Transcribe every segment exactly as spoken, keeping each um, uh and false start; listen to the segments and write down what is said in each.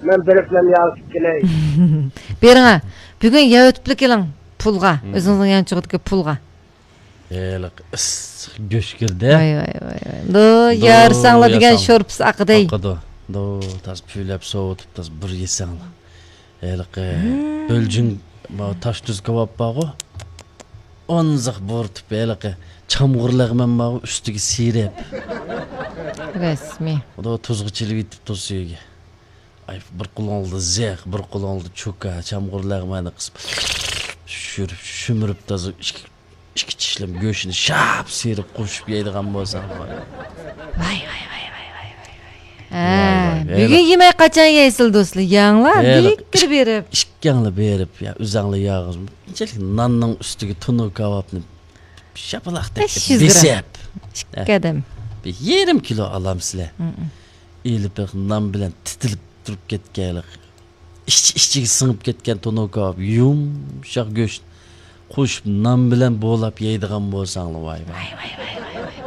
مەن بېرىپ مەن ياۋىتىپ كېلەي. بېرىڭە. بۈگۈن ياۋىتىپلا كېلىڭ پۇلغا. مم. ئۆزىڭىزنىڭ يانچۇقىدىكى پۇلغا. ھېلىقى ئىسسىق گۆش كىردى. ۋاي، ۋاي، ۋاي، ۋاي. دو، دو، يارىساڭلا دېگەن ياساڭ. شورپىسى ئاقىدەي. ئاقىدۇ. دو، تاز پۈۋلەپ سوۋۇتۇپ، تاز بىر يېسەڭلا. ھېلىقى مم. بۆلجۈڭ، ما، تاش تۇز كاۋاپ بارغۇ. ئونزاق بورتۇپ، ھېلىقى چامغۇر لەغمەن بارغۇ، ئۈستىگە سىيرىپ. رەسمىي. ئۇدا تۇزغا چىلىۋېتىپ تۇز سۈيىگە. ئاي، بىر قولۇڭدا زىق، بىر قولۇڭدا چوكا، چامغۇر لەغمەننى قىسىپ، شۈرۈپ، شۈمۈرۈپ تازا ئىككى، ئىككى چىشلىم گۆشنى شاپ سىيرىپ قوشۇپ يەيدىغان بولساڭ. ۋاي، ۋاي، ۋاي، ۋاي، ۋاي، ۋاي. ھە، ۋاي، ۋاي، بۈگۈن ھېلىقى يېمەي قاچان يەيسىلە دوستلار؟ يەڭلار، ھېلىقى دىككىر بېرىپ. ئىككىڭلار بېرىپ، يا، ئۆزەڭلار ياغىز. ئىنچىلىك ناننىڭ ئۈستىگە تونۇر كاۋاپنى شاپىلاقتەك بەش يۈز گرام. بېسىپ. ئىككى ئادەم. بىر يېرىم كىلو ئالامسىلەر. مم. ئېلىپ بېقىپ نان بىلەن تىتىلىپ تۇرۇپ كەتكەنلىك. ئىچ-، ئىچىگە سىڭىپ كەتكەن تونۇر كاۋاپ، يۇمشاق گۆش قوشۇپ نان بىلەن بولاپ يەيدىغان بولساڭلا، ۋاي، ۋاي.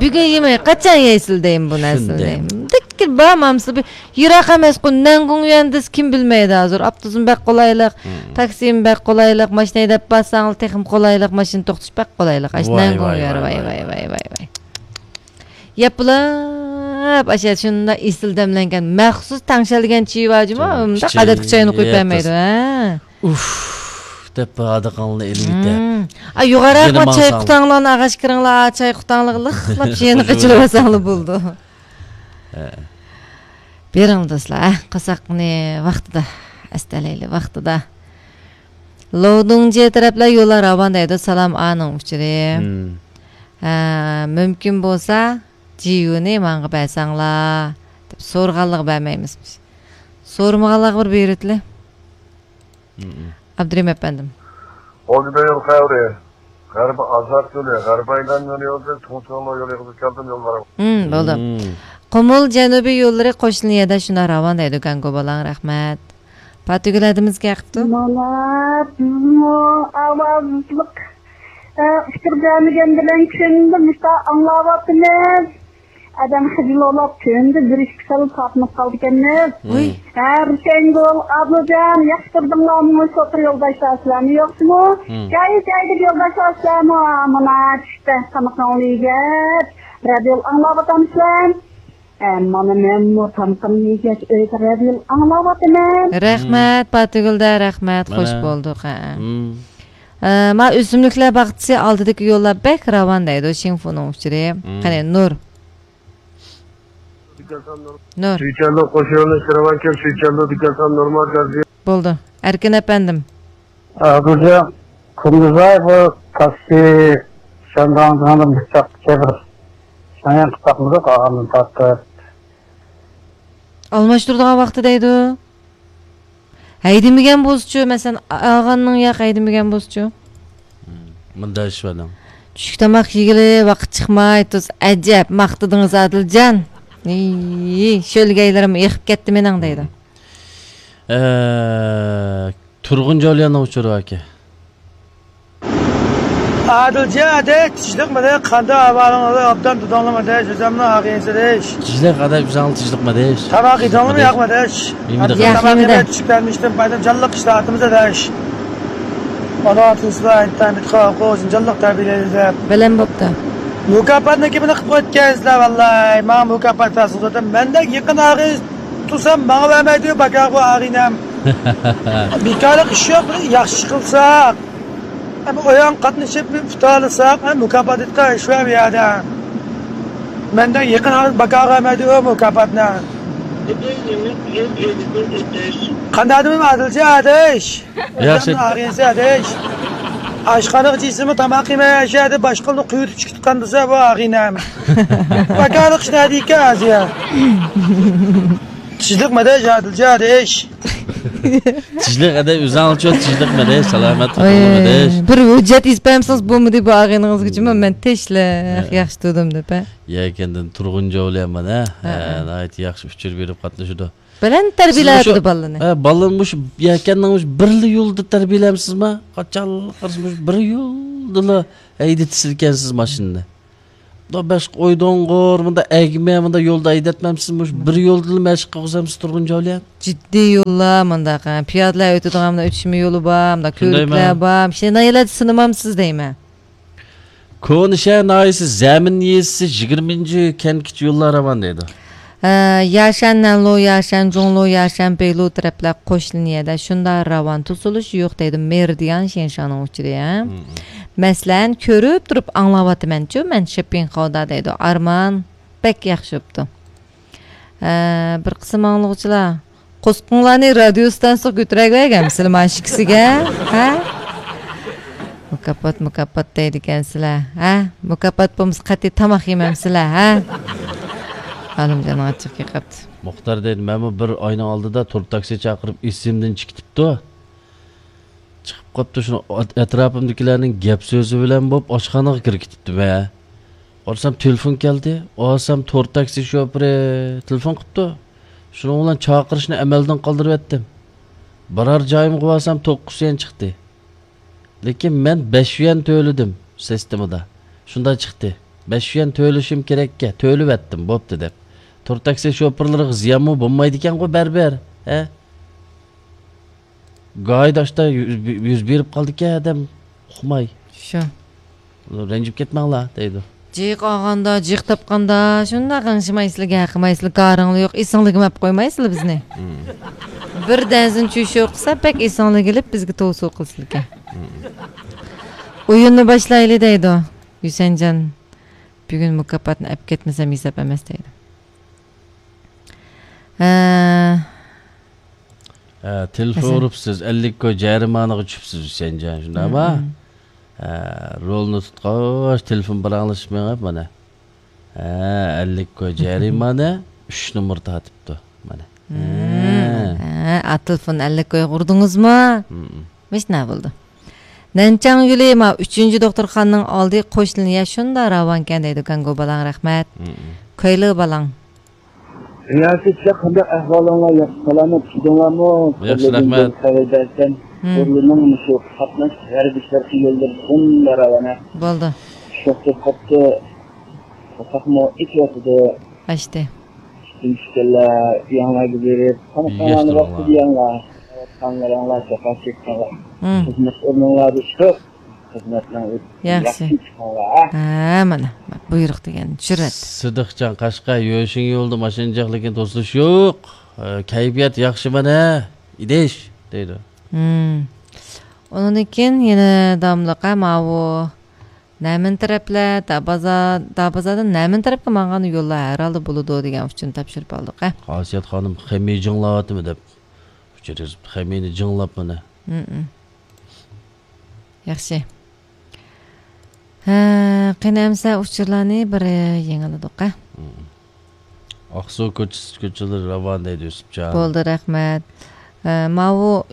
بۈگۈن يېمەي، قاچان يەيسىلە دەيمەن بۇ نەرسىنى شۇنداق. دەيمەن. دىككىر بار مامسىلى بىر يىراق ئەمەسقۇ، نەنگۇڭيۈەن دېسە كىم بىلمەيدۇ ھازىر. ئاپتوبۇسمۇ بەك قولايلىق، مم. تاكسىمۇ بەك قولايلىق، ماشىنا ھەيدەپ بارساڭلا تېخىمۇ قولايلىق، ماشىنا توختىتىش بەك قولايلىق. ئاشۇ ۋاي، نەنگۇڭيۈەن، ۋاي، ۋاي، ۋاي، ۋاي، ۋاي، ۋاي. ۋاي، ۋاي. ياپىلاپ، ئاشۇ شۇنداق ئېسىل دەملەنگەن، مەخسۇس تەڭشەلگەن چىۋا جۇمۇ، مۇنداق ئادەتتىكى چاينى قۇيۇپ بەرمەيدۇ، ھە. ئۇف دەپ ھادىقاڭلارنى ئېلىۋېتىپ. مم. ئا، يۇقىرىراق يەنە ما چاي ماڭساڭلار. قۇتاڭلارنى ئاغاچ كىرىڭلار، چاي قۇتاڭلىقلىق شۇنى قېچىرىۋالساڭلار بولىدۇ. ھە. بېرىڭ دوستلار، ھە، قاساقنى ۋاقتىدا، ئەستەلەيلى ۋاقتىدا. لوۋدۇڭجيې تەرەپلەر يوللار راۋان دەيدۇ، سالام ئانىڭ ئۇچۇرى. مم. ھە، مۇمكىن بولسا، جىيۇنى ماڭا بەرسەڭلار، دەپ سورىغانلىقى بەرمەيمىز. سورىمىغانلارغا بىر بېرىۋېتىلى. مم. ئابدۇرېھىم ئەپەندىم. ئوردىدا يول خەۋىرى. غەربىي ئازاد يولى، غەربىي ئايلان يولى يولىدىن تۇڭچۇڭلۇ يولى يېغىزىپ كەلدىم، يول بار. مم، بولدى. مم. قۇمۇل جەنۇبىي يوللىرى قوشنا يەردە شۇنداق راۋان دەيدۇ، گاڭگو بالاڭ، رەھمەت. پاتىگۈل ھەدىمىزگە ياقىپتۇ. مانا بىزمۇ ئاۋازلىق، ئە، ئۇچۇر بەرمىگەن بىلەن كۈندە مۇشۇنداق ئاڭلاۋاتىمىز. ئادەم خىجىل بولۇپ، كۈندە بىر ئىككى تال تارتىنىپ قالىدىكەنمىز. ۋۇي. ھەر شەڭگۈل، ئابلىجان، ياخشى تۇردۇڭلارمۇ؟ شوپۇر يولداشلار سىلەرمۇ يوقسىمۇ؟ مم. جاي-جايدىكى يولداشلار سىلەرمۇ؟ مانا چۈشتە تامىقىڭلارنى يېگەچ، رادىيو ئاڭلاۋاتامسىلەر؟ ئە، مانا مەنمۇ تامىقىمنى يېگەچ ئۆيدە رادىيو ئاڭلاۋاتىمەن. رەھمەت، مم. پاتىگۈلدە، رەھمەت، مانا. خوش بولدۇق، ھە. مم. ئە، ما ئۆسۈملۈكلەر باغچىسى ئالدىدىكى يوللار بەك راۋان دەيدۇ، شىڭفۇنىڭ ئۇچۇرى. مم. قېنى، نۇر. نۇر. سۈيچەندۇ قوشۇنى شىرۋانكەن، سۈيچەندۇ دېگەن نورمال گازى. بولدى. ئەركىن ئەپەندىم. ئابدۇجان، كۈندۈزئاي بۇ تاكسى شانداڭدىن بىر چاققىچە بىر شاڭياڭ قىستاقمىدۇق، ئاغامدىن تارتىپ. ئالماشتۇرىدىغان ۋاقتى دەيدۇ. ھەيدىمىگەن بولسىچۇ، مەسىلەن، ئاغاننىڭ ياق ھەيدىمىگەن بولسىچۇ. مم، مۇنداق ئىش بار دەڭ. چۈشلۈك تاماق يېگىلى ۋاقىت چىقماي تۇرسا، ئەجەب ماختىدىڭىز ئادىلجان. ئىي، شۆلگەيلىرىم ئېقىپ كەتتى مېنىڭ دەيدۇ. ئە، تۇرغۇن جولىياننىڭ ئۇچۇرى باركەن. ئادىلجان ئادەش، تىنچلىقمىدى؟ قانداق ئەھۋالىڭلار؟ ئوبدان تۇردۇڭلارمۇ ئادەش؟ ئۆزۈمنىڭ ئاغىنىسى ئادەش. تىنچلىق ئادەش، ئۆزۈڭلار تىنچلىقمۇ ئادەش؟ تاماق يېدىڭلارمۇ ياقمۇ ئادەش؟ يېمىدۇق. ياق، تاماق يېمىدى. يېمەي چۈشۈپ كەلمىشتىم، بايدىم جانلىق ئىشلەۋاتىمىز ئادەش. ئانا تۇرسىلا ئىنتايىن بىتقاقۇ، جانلىق تەربىيەلەيدۇ دەپ. بەلەن بوپتۇ. مۇكاپاتنى كىمنى قىلىپ قويۇپكەنسىلەر، ۋاللاي. ماڭا مۇكاپات تارتسۇن زادى. مەندەك يېقىن ئاغىنە تۇرسام، ماڭا بەرمەيدۇ، باكاغۇ ئاغىنەم. بىكارلىق ئىش يوق، بىر ياخشى قىلساق. ئەمما ئويۇن قاتنىشىپ ئۇتالىساق، ھە، مۇكاپات ئېيتقان ئىش بار بۇ يەردە. مەندەك يېقىن ئاغىنە باكاغا بەرمەيدۇ ئۇ مۇكاپاتنى. قانداق دېمەيمەن، ئادىلجان ئادەش؟ ياخشى. ئادەمنىڭ ئاغىنىسى ئادەش. ئاشخانىغا چىقسىمۇ تاماق يېمەي، ئاشۇ يەردە باشقىلارنى قۇيرۇتۇپ چىقىدىغان بولسا، بۇ ئاغىنەم. باكارلىق ئىش نەدىكەن ھازىر؟ تىنچلىقمۇ ئادەش، ئادىلجان ئادەش؟ تىنچلىق ئادەش، ئۆزۈڭلارچۇ تىنچلىقمۇ ئادەش، سالامەت ئوي، تۇرۇڭلارمۇ ئادەش؟ بىر ھۆججەت ئېلىپ بەرمىسىڭىز بولمىدى بۇ ئاغىنىڭىزگىچۇ، مەن تىنچلىق، ھە. ياخشى تۇردۇم دەپ، ھە. يەكەندىن تۇرغۇن جولىيان مانا، ھە، ھە، ھە. ناھايىتى ياخشى ئۇچۇر بېرىپ قاتنىشىدۇ. بەلەن تەربىيەلەۋاتىدۇ بالىنى. ھە، بالىنى مۇشۇ يەكەننىڭ مۇشۇ بىرلا يولىدا تەربىيەلەمسىزما؟ قاچانلىق قارىسا مۇشۇ بىر يولدىلا ھەيدىتىسىدىكەنسىز ماشىنىنى. مۇنداق بەش ئويدۇڭغۇر، مۇنداق ئەگمە، مۇنداق يولدا ھەيدەتمەمسىز؟ مۇشۇ بىر يولدىلا مەشىق قىلغۇزامسىز تۇرغۇن جاۋلىيە؟ جىددىي يوللار مۇنداق، ھە. پىيادىلەر ئۆتىدىغان مۇنداق ئۆتۈشمە يولى بار، مۇنداق كۆۋرۈكلەر بار. شۇنداق يەرلەردە سىنىمامسىز دەيمەن. كونا شەھەر ناھىيەسى زەمىن يېزىسى يىگىرمىنچى كەنتكىچە يوللار راۋان دەيدۇ. ئە، ياشەن، نەنلۇ، ياشەن، جۇڭلۇ، ياشەن، بېيلۇ تەرەپلەر قوشنا يەردە شۇنداق راۋان توسۇلۇش يوق دەيدۇ. مېرىدىيان شېنشانىڭ ئۇچۇرى، ھە. مم. مەسىلەن، كۆرۈپ تۇرۇپ ئاڭلاۋاتىمەنچۇ، مەن شىپپىڭخاۋدا دەيدۇ. ئارمان بەك ياخشى بوپتۇ. ئە، بىر قىسىم ئاڭلىغۇچىلار، قورسىقىڭلارنى رادىيو ئىستانسىغا كۆتۈرەلمەيگەنمىسىلەر مانا ئىككىسىگە؟ ھە؟ مۇكاپات، مۇكاپات دەيدىكەنسىلەر، ھە؟ مۇكاپات بولمىسا قەتئىي تاماق يېمەمسىلەر، ھە؟ ئالىمجاننىڭ ئاچچىقى كېلىپ قاپتۇ. مۇختار دەيدۇ، مەنمۇ بىر ئاينىڭ ئالدىدا تور تاكسى چاقىرىپ ئېسىمدىن چىقىپ كېتىپتۇ. چىقىپ قاپتۇ، شۇنىڭ ئەت-، ئەتراپىمدىكىلەرنىڭ گەپ سۆزى بىلەن بولۇپ ئاشخانىغا كىرىپ كېتىپتىمەن. قارىسام تېلېفون كەلدى. ئالسام تور تاكسى شوپۇرى تېلېفون قىپتۇ. شۇنىڭ بىلەن چاقىرىشنى ئەمەلدىن قالدۇرۇۋەتتىم. بارار جايىمغا بارسام توققۇز يۈەن چىقتى. لېكىن مەن بەش يۈەن تۆلىدىم سىستېمىدا. شۇنداق چىقتى. بەش يۈەن تۆلىشىم كېرەككە، تۆلىۋەتتىم، بوپتۇ دەپ. تور تاكسى شوپۇرلىرىغا زىيانمۇ بولمايدىكەنغۇ بەرىبىر، ھە؟ گاھىدا ئاشتا يۈز، يۈز بېرىپ قالدىكەن ئادەم ئۇقماي. شۇ. رەنجىپ كەتمەڭلار دەيدۇ. جىق ئالغاندا، جىق تاپقاندا شۇنداق غىڭشىمايسىلەر، گەقىمايسىلەر، گارىڭلار يوق، ئېسىڭلارگە مەپ قويمايسىلەر بىزنى. مم. بىردەنسىن چۈشۈر قىلسا بەك ئېسىڭلارگە ئېلىپ بىزگە توۋسۇ قىلسىلىكەن. مم. ئويۇننى باشلايلى دەيدۇ. ھۈسەنجان، بۈگۈن مۇكاپاتنى ئەپ كەتمىسەم ھېساب ئەمەس دەيدۇ. ھە. ھە، تېلېفون ھەسەن. ئۇرۇپسىز، ئەللىك كوي جەرىمانىغا چۈشۈپسىز ھۈسەنجان، شۇنداقمۇ؟ مم. ھە، رولنى تۇتقاچ، تېلېفون پاراڭلىشىپ مېڭىپ مانا. ھە، ئەللىك كوي جەرىمانە، ئۈچ نومۇر تارتىپتۇ مانا. مم. ھە. ھە، ئا، تېلېفون ئەللىك كويغا ئۇردىڭىزمۇ؟ مم. مۇشۇنداق بولدى. نەنچاڭ يولى، ما، ئۈچىنچى دوختۇرخانىنىڭ ئالدى قوشنا يەر شۇنداق راۋانكەن دەيدۇ، گاڭگو بالاڭ، رەھمەت. مم. كويلى بالاڭ. نىيازىچە، قانداق ئەھۋالىڭلار؟ ياخشى سالامەت، چىدىڭلارمۇ؟ ياخشى، رەھمەت. خەۋەر بەرسەن، مم. بۇرۇننىڭ مۇشۇ قاتناش غەربىي شەرقىي يوللىرى شۇنداق راۋانە. بولدى. شۇنداق قىلىپ قاپتۇ. قورساقمۇ ئېچىۋاتىدۇ. ئاچتى. ئىشتىن چۈشكەنلەر ئۆيۈڭلارغا بېرىپ، تامىقىڭلارنى ۋاقتىدا يەڭلار. قاڭلىرىڭلار، جاپا چەككەنلەر. مم. خىزمەت ئورنۇڭلاردا ئىشلەپ، خىزمەتنىڭ ياخشى. ياخشى چىقىڭلار. ھە، مانا، بۇيرۇق دېگەن چۈشۈرۈۋەتتى. سىدىقجان، قەشقەر، يۆشىڭ يولىدا ماشىنا جىق، لېكىن توسۇلۇش يوق. ئە، كەيپىيات ياخشى مانا، ئىدىش، دەيدۇ. مم. ئۇنىڭدىن كېيىن يەنە داۋاملىق، ھە، ماۋۇ نەمىن تەرەپلەر، دابازا، دابازادىن نەمىن تەرەپكە ماڭغان يوللار ھەر ھالدا بولىدۇ دېگەن ئۇچۇرنى تاپشۇرۇپ ئالدۇق، ھە. خاسىيەت خانىم خېمى جىڭلاۋاتىمۇ دەپ ئۇچۇر يېزىپتۇ. خېمىنى جىڭلاپ مانا. مم. ياخشى. ھە، قېنى ئەمسە ئۇچۇرلارنى بىر يېڭىلىدۇق، ھە. مم. ئاقسۇ كوچىسى، كوچىلىرى راۋان دەيدۇ يۈسۈپجان. بولدى، رەھمەت. ئە، ماۋۇ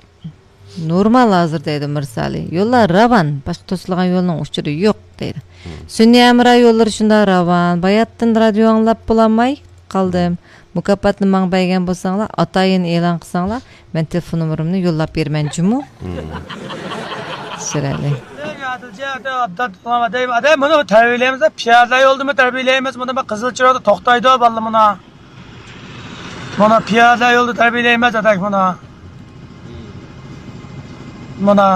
نورمال ھازىر دەيدۇ مىرسالى. يوللار راۋان، باشقا توسۇلغان يولنىڭ ئۇچۇرى يوق دەيدۇ. مم. سۈنئىي ھەمراھ يوللىرى شۇنداق راۋان. باياتتىن رادىيو ئاڭلاپ بولالماي قالدىم. مۇكاپاتنى ماڭا بەرگەن بولساڭلار، ئاتايىن ئېلان قىلساڭلار، مەن تېلېفون نومۇرۇمنى يوللاپ بېرىمەنجۇمۇ. مم. چىرايلىق. ئادەم، مۇنى تەربىيەلەيمىز، پىيادىلەر يولىدىمۇ تەربىيەلەيمىز، مۇنى بىر قىزىل چىراغدا توختايدۇ بالىلار مانا. مانا پىيادە يولدا تەربىيەلەيمىز، ئاداش، مانا. مانا.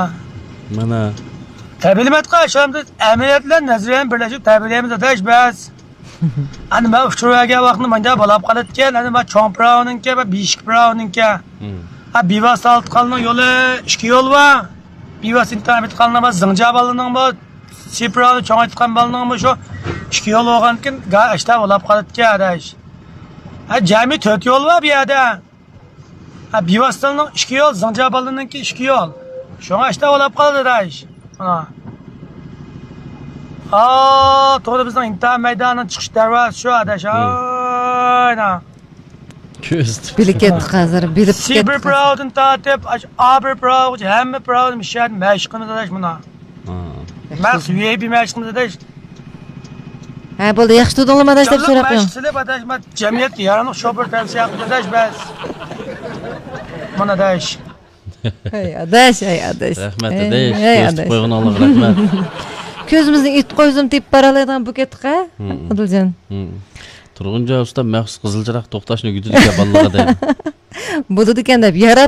مانا. تەربىيەلىمەتقا، شۇ ئەمدى ئەمەلىيەت بىلەن نەزەرىيەنى بىرلەشتۈرۈپ تەربىيەلەيمىز، ئاداش، بەس. ئەنە مەن ئۇچۇر بەرگەن ۋاقتىدا مانجا بولاپ قالىدىكەن، ئەنە مەن چوڭ پىراۋنىڭكى ۋە بىشىك پىراۋنىڭكى. مم. ھە، بىۋاسىتە ئالتىقالنىڭ يولى ئىككى يول بار. بىۋاسىتە ئىنتىزام ئېيتقانلار بار، زىڭجا بالىنىڭ بار، سىپراۋنى چوڭ ئېيتقان بالىنىڭ بار، شۇ ئىككى يول بولغاندىكىن، گا-، ئاشتا بولاپ قالىدىكەن، ئاداش. ھە، جەمئىي تۆت يول بار بۇ يەردە. ھە، بىۋاسىتىنىڭ ئىككى يول، زىڭجا بالىنىڭكى ئىككى يول. شۇڭا ئاشتا بولاپ قالدى، ئاداش. ئانا. ھا، توغرا بىزنىڭ ئىمتىھان مەيدانىنىڭ چىقىش دەرۋازىسى شۇ، ئاداش. ھاي، ئانا. كۆز بىلىپ كەتتۇق ھازىر، بىلىپ سىبىر كەتتۇق. پىراۋىدىن تارتىپ، ئاش-، ئابىر پىراۋىغىچە ھەممە پىراۋنى مۇشۇ يەردە مەشىق قىلىمىز، ئاداش، مانا. ھا. مەخسۇس ۋىئايپى مەشىق قىلىمىز، ئاداش. ھە، بولدى، ياخشى تۇردۇڭلارمۇ، ئاداش، دەپ جانلىق سوراپ قويۇڭ. مەشىق قىلىپ، ئاداش، مانا جەمئىيەتكە ياراملىق شوپۇر تەۋسىيە قىلىمىز، ئاداش، بەس. مانا، ئاداش. ھەي، ئاداش، ھەي، ئاداش. رەھمەت، ھەي، ئاداش. ھەي، كۆرسىتىپ ئاداش. قويغىنىڭلارغا رەھمەت. كۆزىمىزنى ئېتىپ قويسىمۇ تېپىپ بارالايدىغان بولۇپ كەتتۇق ھە، ئادىلجان؟ تۇرغۇنجان ئۇستا مەخسۇس قىزىل چىراغ توختاشنى ئۆگىتىدىكەن بالىلارغا دەيمەن. بولىدىكەن دەپ ياراپ